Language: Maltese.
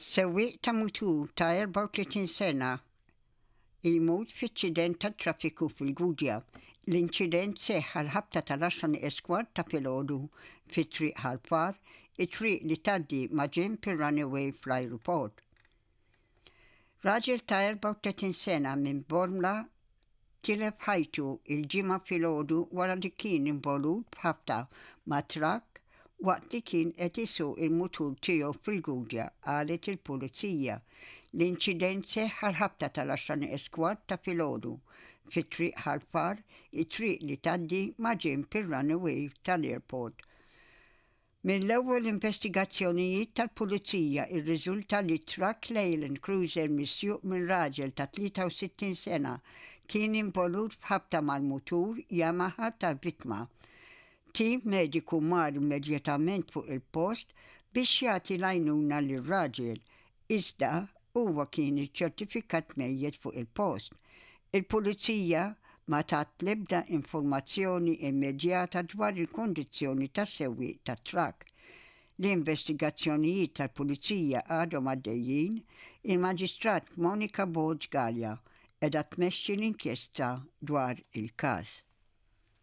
Sewwieq ta' mutur ta' 34 sena jmut f'inċident tat-traffiku fil-Gudja. L-inċident seħħ għall-ħabta tal-għaxra nieqes kwart ta' filgħodu fi Triq Ħal Far, it-triq li tgħaddi maġenb ir-runaway fl-ajruport. Raġel ta' 34 sena minn Bormla tilef ħajtu l-Ġimgħa filgħodu wara li kien involut f'ħabta ma' trakk waqt li kien qed isuq il-mutur tiegħu fil-Gudja, qalet il-Pulizija. L-inċident seħħ għall-ħabta tal-għaxra nieqes kwart ta' filgħodu fi Triq Ħal Far, it-triq li tgħaddi maġenb ir-runaway tal-airport. Mill-ewwel investigazzjonijiet tal-Pulizija rriżulta li trakk Leyland Cruiser misjuq minn raġel ta' 63 sena kien involut f'ħabta mal-mutur Yamaha tal-vittma. Tim mediku mar immedjatament fuq il-post biex jagħti l-għajnuna lir-raġel, iżda huwa kien iċċertifikat mejjet fuq il-post. Il-Pulizija ma tat l-ebda informazzjoni immedjata dwar il-kundizzjoni tas-sewwieq tat-trakk. L-investigazzjonijiet tal-Pulizija għadhom għaddejjin, il-Maġistrat Monica Borg Galea qiegħda tmexxi l-inkjesta dwar il-każ.